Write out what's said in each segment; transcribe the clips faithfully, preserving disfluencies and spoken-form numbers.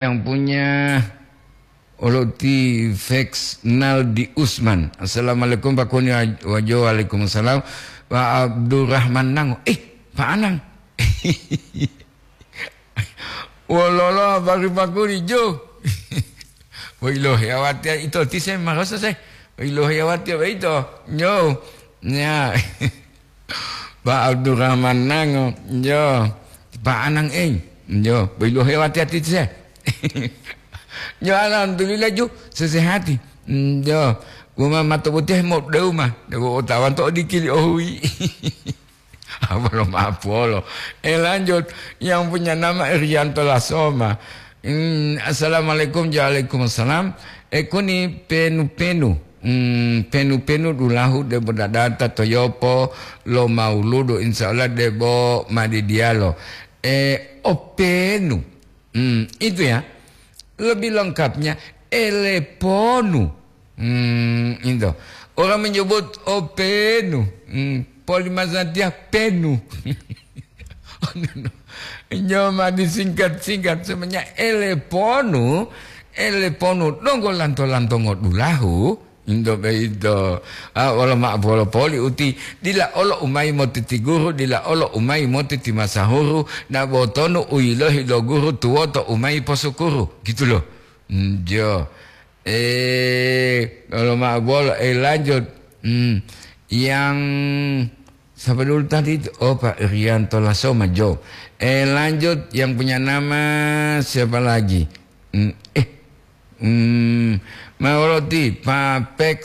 yang punya Oloti Feks Naldi Usman. Assalamualaikum Pak Kuni. Wajo, waalaikumsalam. Pak Abdurrahman Nango. Eh, Pak Anang. Wololo habari Pak Kuni, Jo? Woilohe awatiya ito tise marosa se. Woilohe awatiya ito. Nyo. Ya. Pak Abdurrahman Nango, yo, Pak Anang, eh, yo, boilohe wati-ati se. Yo, alhamdulillah, ju, sesehati. Mm, yo, wuma mato butihe mo deuma, dewo otawan to odikili ohui. Apa lo maaf polo. Eh, lanjut, yang punya nama Irianto Lasoma. Hmm, assalamualaikum, waalaikumsalam. Eh, kuni penu-penu. Hmm, penu-penu dulahu debo dadata to yopo lo mauludu, insya Allah debo madidiyalo. Eh, openu. Hmm, itu ya. Lebih lengkapnya, eleponu. Hmm, itu. Orang menyebut openu. Hmm, polimazatiah penu. Nyoma disingkat-singkat semuanya eleponu, eleponu donggo lanto-lantongo dulahu, indo beito. Ah, wolo ma polo poli uti, dila olo umai motiti guru, dila olo umai motiti masahuru, na botonu uyilohi lo guru tuwoto umai posukuru, gitu loh. Njo. Eh, kalau ma bolo, eh, lanjut. Hmm, yang siapa dulu tadi itu? Oh, Pak Irianto Lasoma, Jo. Eh, lanjut, yang punya nama siapa lagi? Hmm, eh, hmm, Mawaloti, Pak Pex,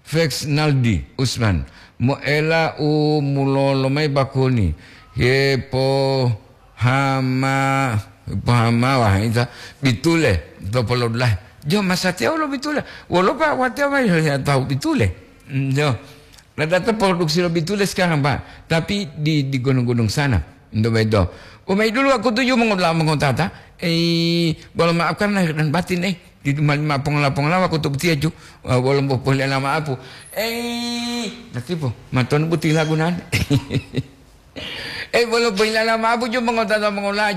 Pex Naldi Usman. Moela u mulolo mai bakuni. Hepo hama, pohamawa ita bitule to polodulahe. Jo, masatiya wolo bitule. Wolo, Pak, watiya mai ya tahu bitule. Hmm, jo. Ladata produksi lo bitule sekarang, Pak. Tapi di, di gunung-gunung sana. Ndo bedo. Umai dulu aku tuju mengola mengotata. Eh, bolo maafkan lahir dan batin, eh. Di mali ma pongola-pongola aku tu butiya ju. Wolo bo pohilala maapu. Eh, natipo. Maton buti lagunan. Eh, bolo pohilala maapu ju mengotata mengola.